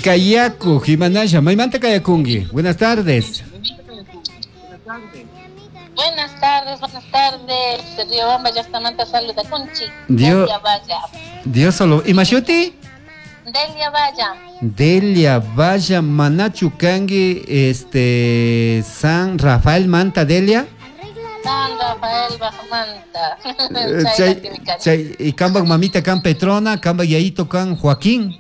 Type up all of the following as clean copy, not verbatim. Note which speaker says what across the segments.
Speaker 1: Kayaku, Jimanaya, Maymanta Kayakungi. Buenas tardes.
Speaker 2: Buenas tardes, buenas tardes. Riobamba llaqtamanta saluda kunchi.
Speaker 1: Dios,
Speaker 2: Delia Valla.
Speaker 1: Dios solo. ¿Imashuti?
Speaker 2: Delia Valla.
Speaker 1: Delia Valla Manachu Kangi, San Rafael Manta Delia.
Speaker 2: San Rafael Bajamanta.
Speaker 1: Chay, chay, y kambak mamita kan Petrona, kambak yayito kan Joaquín.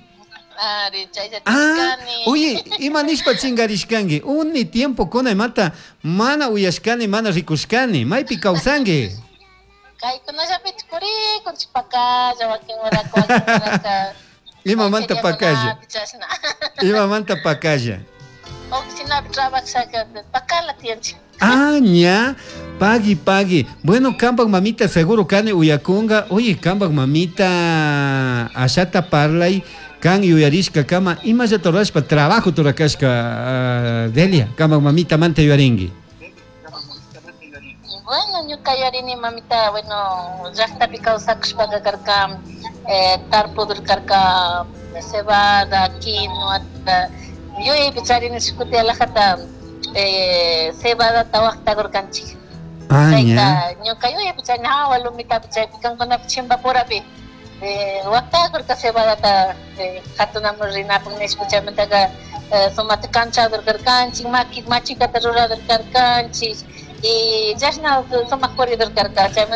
Speaker 2: Ari, chay
Speaker 1: Ah, oye, ima nishpa chingarishkangi, uni tiempo kuna imata mana uyashkani, mana rikushkani, maypi kawsangi.
Speaker 2: Kaykunallapi purikunchik pakalla, wakin horaka, wakin horaka.
Speaker 1: Imamanta pakalla.
Speaker 2: Chashna.
Speaker 1: Imamanta pakalla.
Speaker 2: Oficinapi trabajashaka pakala tiyanchik.
Speaker 1: Ah, ña, pagui, pagui. Bueno, kambak mamita seguro kani uyakunga. Oye, kambak mamita ashata parlay kan yuyarishka kama imallata rurashpa trabajo turakashka, Delia, kambak mamita manta yuyaringi.
Speaker 2: Bueno, ñuka yuyarini mamita, bueno, llaqtapi kawsakushpaka karka, tarpudur karka, cebada, quinoa, yuyaypi charini shukuti alajata, cebadata waqtakurkanchik.
Speaker 1: Ah,
Speaker 2: Chayta,
Speaker 1: ña.
Speaker 2: ñuka yuyaypi charini, hawa lumitapi chaypi kankunapi chimpapurapi, waqtakurka cebadata, hatunamun rinapuk nishpa chaymantaka, sumata kanchadur karkanchik, maki, machikata ruradur karkanchik, y chashna sumaq puridur karka, chaymanta.